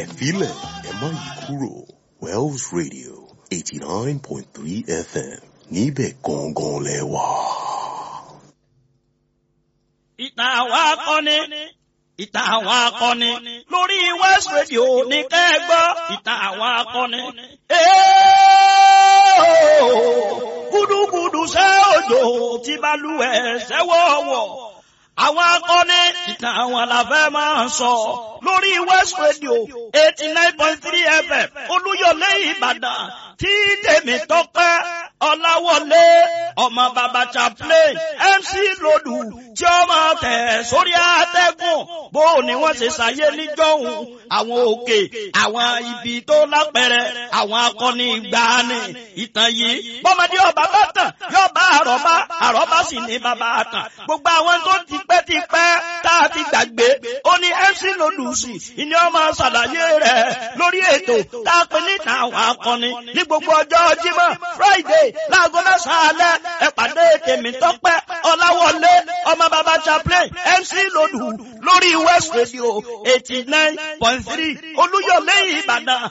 Ẹ filẹ̀ ẹ má yí kúrò, Wells Radio 89.3 FM, níbẹ̀ gangan lẹ wà. Ìtàn àwọn akọni, ìtàn àwọn akọni lórí West Radio ní kẹ́gbọ́, ìtàn àwọn akọni. Gúdúgúdú ṣẹ́ òjò tí balùwẹ̀ ṣẹ́wọ̀wọ̀. Àwọn akọni, ìtàn àwọn làfẹ́ máa ń sọ lórí West Radio 89.3 FM, Olúyọ̀lé Ìbàdàn, tí tèmi tọ́pẹ́ Ọláwọlé, ọmọ bàbá chaplain MC Lòdù, tí ó máa tẹ̀ sórí àtẹ́gùn. Bó ni wọ́n ṣe ṣàyé níjọ́hun, àwọn òkè, àwọn ibi tó lápẹẹrẹ, àwọn akọni ìgbàanì, ìtàn yìí bọ́mọdé ọba bá tàn yóò bá àrọ́bá, àrọ́bá sì ní bàbá àtàn. Gbogbo àwọn tó ti pẹ́ ti pẹ́ tá a ti gbàgbé, ó ní MC Lòdù sí ìní ọmọ ṣàlàyé rẹ̀ lórí ètò tá a pè ní àwọn akọni ní gbogbo ọjọ́ Jímọ̀ Friday láago 9 alẹ́. Ẹ pàdé tèmi tọ́pẹ́ Ọláwọlé, ọmọ bàbá chaplain MC Lòdù lórí West Radio 89.3, Olúyọ̀lé Ìbàdàn.